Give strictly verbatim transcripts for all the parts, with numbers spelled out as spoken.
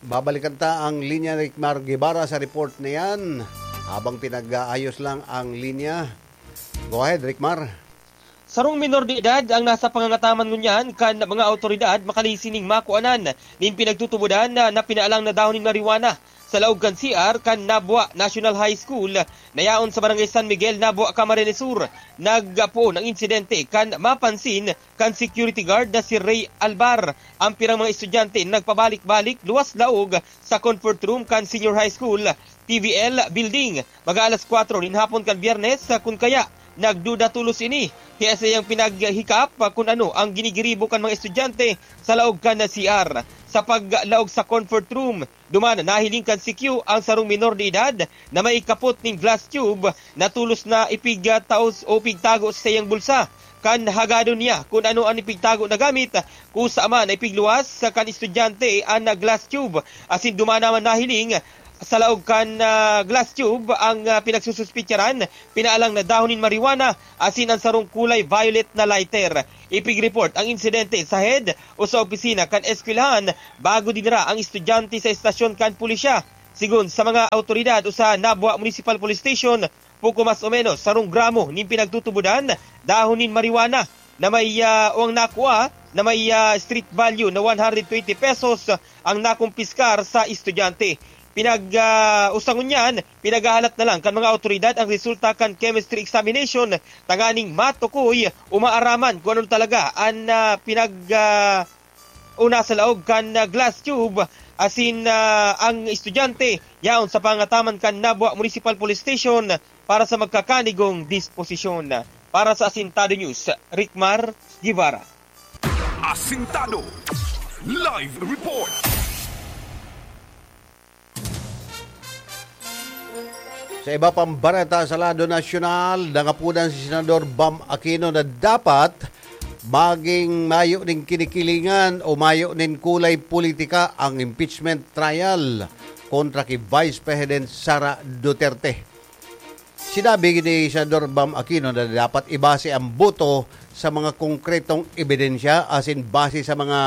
Babalikan ta ang linya ni Ricmar Guevara sa report na yan. Habang pinag-aayos lang ang linya. Go ahead, Ricmar. Sarong minor de edad ang nasa pangangataman ngunyan kan mga awtoridad makali sining makuanan nin pinagtutubodan na, na pinaalang na dahon nin marijuana sa laog kan C R kan Nabua National High School na yaon sa Barangay San Miguel, Nabua, Camarines Sur. Nagpoon ang insidente kan mapansin kan security guard na si Ray Albar. Ang pirang mga estudyante nagpabalik-balik luwas laog sa comfort room kan Senior High School, T V L Building, mga alas kwatro nin hapon kan Biyernes, kun kaya nagduda tolos ini. Kaya sa iyang pinaghikap kun ano ang ginigiribo kan mga estudyante sa laog kan C R. Sa paglaog sa comfort room, duman nahiling kan C Q ang sarong minor de edad na may kapot nin glass tube na tolos na ipigtaos o pigtago sa iyang bulsa. Kan hagadon niya kun ano an ipigtago na gamit, kusa man na ipigluwas sa kan estudyante an glass tube, asin duman naman nahiling sa laog kan, ah, glass tube ang, ah, pinagsususpitsaran, pinaalang na dahon nin marijuana asin an sarong kulay violet na lighter. Ipig-report ang insidente sa head o sa opisina kan eskwelahan bago dinara ang estudyante sa estasyon kan pulisya. Sigon sa mga awtoridad o sa Nabua Municipal Police Station, poko mas o menos sarong gramo nin pinagtutubodan dahon nin marijuana na may, ah, o ang nakua na may, ah, street value na one hundred twenty pesos ang nakumpiskar sa estudyante. Pinag, ah, usa ngunyan, pinaghahalat na lang kan mga awtoridad ang resulta kan chemistry examination tanganing matukoy o maaraman kung ano talaga an, ah, pinag, ah, o nasa laog kan, ah, glass tube asin, ah, ang estudyante yaon sa pangataman kan Nabua Municipal Police Station para sa magkakanigong disposisyon. Para sa Asintado News, Ricmar Guevara. Asintado. Live report. Sa iba pang bareta sa lado nasyonal, nangapodan si Senador Bam Aquino na dapat maging mayo ning kinikilingan o mayo nin kulay politika ang impeachment trial kontra ki Vice President Sara Duterte. Sinabi ni Senador Bam Aquino na dapat ibase ang boto sa mga konkretong ebidensya asin base sa mga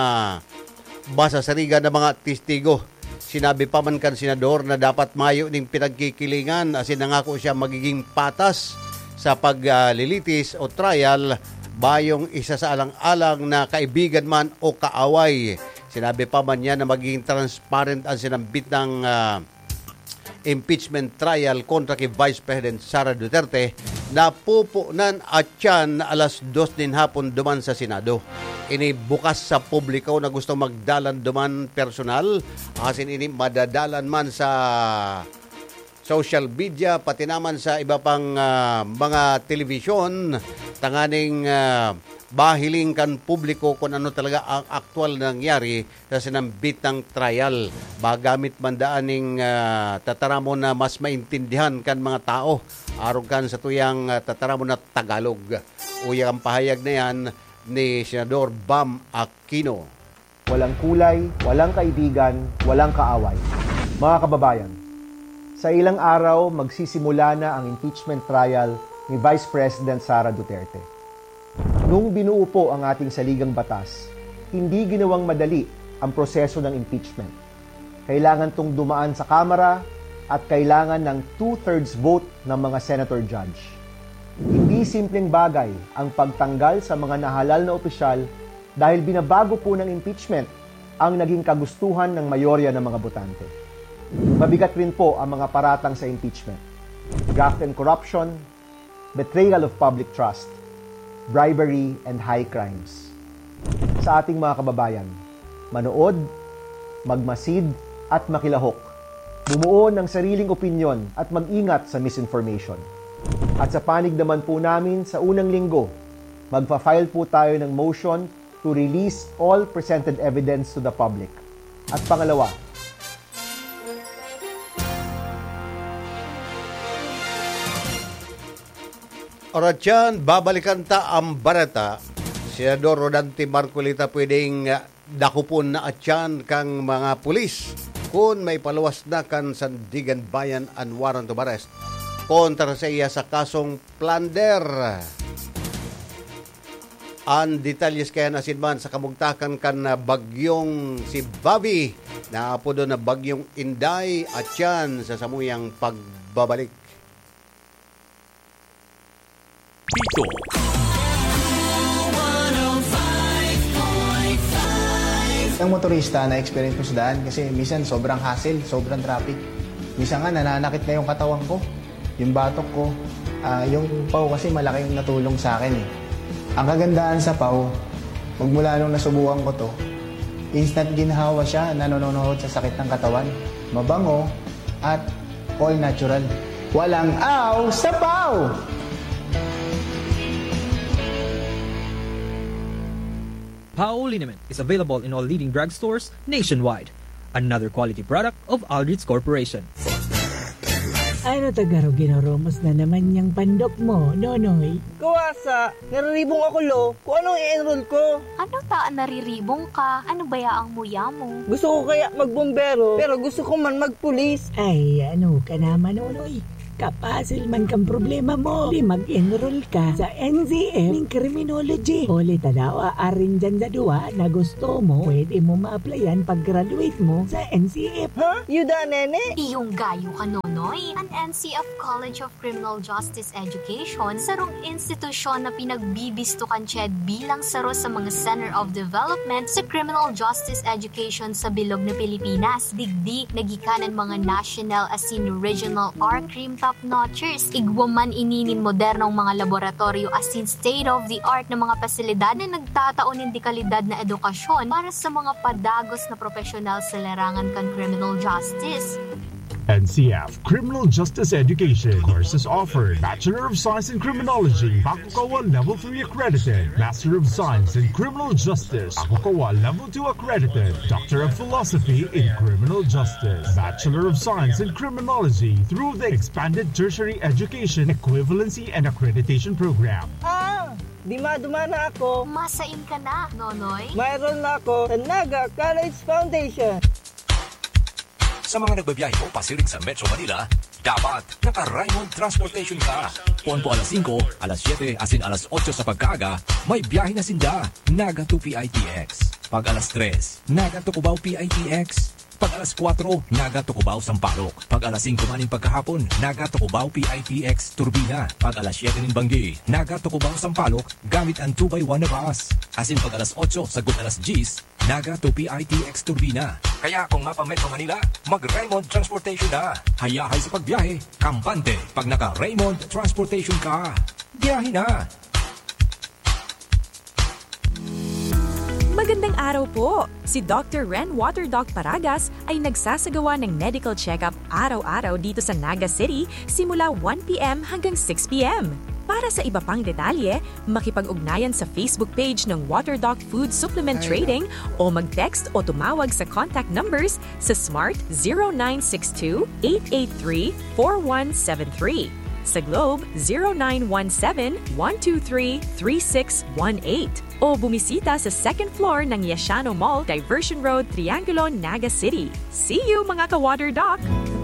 masasarigan na mga testigo. Sinabi pa man kan senador na dapat mayo ning pinagkikilingan asin nangako siya magiging patas sa paglilitis o trial, bayong isasaalang-alang na kaibigan man o kaaway. Sinabi pa man niya na magiging transparent ang sinambit ng, ah, impeachment trial kontra ki Vice President Sara Duterte na pupunan atyan na alas dos nin hapon duman sa Senado. Ini bukas sa publiko na gusto magdalan duman personal, asin ini madadalan man sa social media, pati naman sa iba pang, ah, mga telebisyon, tanganing, ah, bahiling kan publiko kung ano talaga ang aktual na nangyari sa sinambitang trial. Magamit man daan ning, ah, tataramon na mas maintindihan kan mga tao, arog kan sa tuyang, ah, tataramon na Tagalog. Uya ang pahayag na yan ni Senador Bam Aquino. Walang kulay, walang kaibigan, walang kaaway. Mga kababayan, sa ilang araw, magsisimula na ang impeachment trial ni Vice President Sara Duterte. Nung binuo po ang ating saligang batas, hindi ginawang madali ang proseso ng impeachment. Kailangan 'tong dumaan sa Kamara at kailangan ng two-thirds vote ng mga senator judge. Hindi simpleng bagay ang pagtanggal sa mga nahalal na opisyal dahil binabago po ng impeachment ang naging kagustuhan ng mayorya ng mga botante. Mabigat rin po ang mga paratang sa impeachment: graft and corruption, betrayal of public trust, bribery, and high crimes. Sa ating mga kababayan, manood, magmasid, at makilahok. Bumuo ng sariling opinyon at mag-ingat sa misinformation. At sa panig naman po namin, sa unang linggo, magfa-file po tayo ng motion to release all presented evidence to the public. At pangalawa, Oratyan, babalikan ta ang bareta. Senador Rodante Marcoleta pwedeng, ah, dakopon na atyan kan mga pulis kun maipaluwas na kan Sandiganbayan an warrant of arrest kontra saiya sa kasong plunder. An detalye sa kaiyan asin man sa kamugtakan kan, ah, bagyong si Bobby, na apodo na Bagyong Inday, at yan sa samuyang pagbabalik. Dito. Ang motorista na experience ko sa daan kasi minsan sobrang hassle, sobrang traffic. Minsan nga nananakit na yung katawan ko. Yung batok ko, ah, yung paw kasi malaking natulong sa akin eh. Ang kagandahan sa paw, magmula nung nasubukan ko to, instant ginhawa siya, nanononohod sa sakit ng katawan. Mabango at all natural. Walang aw sa paw! Pao liniment is available in all leading drugstores nationwide. Another quality product of Aldrich Corporation. Ano ta garo ginoromos na naman yang pandok mo, Nonoy? Kuwasa, nariribong ako, lo. Kung anong i-enroll ko. Ano ta nariribong ka? Ano baya ang muya mo? Gusto ko kaya magbombero, pero gusto ko man magpulis. Ay, ano ka naman, Nonoy? Kapasil man kan problema mo, di mag-enroll ka sa N C F nin Criminology. Huli ta daw, aarin dyan sa duwa na gusto mo, pwede mo ma-applyan pag-graduate mo sa N C F. Ha? Yuda, nene? Iyong gayo ka, Nonoy. An N C F College of Criminal Justice Education, sarong institusyon na pinagbibisto kan CHED bilang saro sa mga Center of Development sa Criminal Justice Education sa bilog na Pilipinas. Digdi, nagikanan mga national asin regional R-Crime top-notchers. Igwa man ini nin modernong mga laboratoryo asin state-of-the-art na mga pasilidad na nagtatao nin dekalidad na edukasyon para sa mga padagos na propesyonal sa larangan kan criminal justice. N C F, Criminal Justice Education. Courses offered: Bachelor of Science in Criminology, Bakukawa Level three accredited, Master of Science in Criminal Justice, Bakukawa Level two accredited, Doctor of Philosophy in Criminal Justice, Bachelor of Science in Criminology through the Expanded Tertiary Education Equivalency and Accreditation Program. Ah! Dima-duma na ako. Masain ka na, Nonoy. Mayroon na ako sa Naga College Foundation. Sa mga nagbabiyahe po pasiring sa Metro Manila, dapat naka-Raymond Transportation ka. Poon po alas singko, alas siyete, asin alas otso sa pagkaaga, may biyahe na sinda, Naga to P I T X. Pag alas tres, Naga to Cubao P I T X. Pag alas kwatro, Naga to Cubao Sampaloc. Pag alas singko man nin pagkahapon, Naga to Cubao P I T X Turbina. Pag alas siyete nin banggi, Naga to Cubao Sampaloc gamit an two by one na bus. Asin pag alas otso sagkod alas dyes, Naga to P I T X Turbina. Kaya kung mapa-Metro Manila, mag-Raymond Transportation na. Hayahay sa pagbiyahe, kampante pag naka-Raymond Transportation ka. Biyahe na! Magandang araw po! Si Doctor Ren Water Doc Paragas ay nagsasagawa ng medical check-up araw-araw dito sa Naga City simula one p.m. hanggang six p.m. Para sa iba pang detalye, makipag-ugnayan sa Facebook page ng Water Doc Food Supplement Trading o mag-text o tumawag sa contact numbers sa Smart zero nine six two, eight eight three, four one seven three, sa Globe zero nine one seven, one two three, three six one eight, o bumisita sa second floor ng Yashano Mall, Diversion Road, Triangulo, Naga City. See you, mga ka-Water Doc!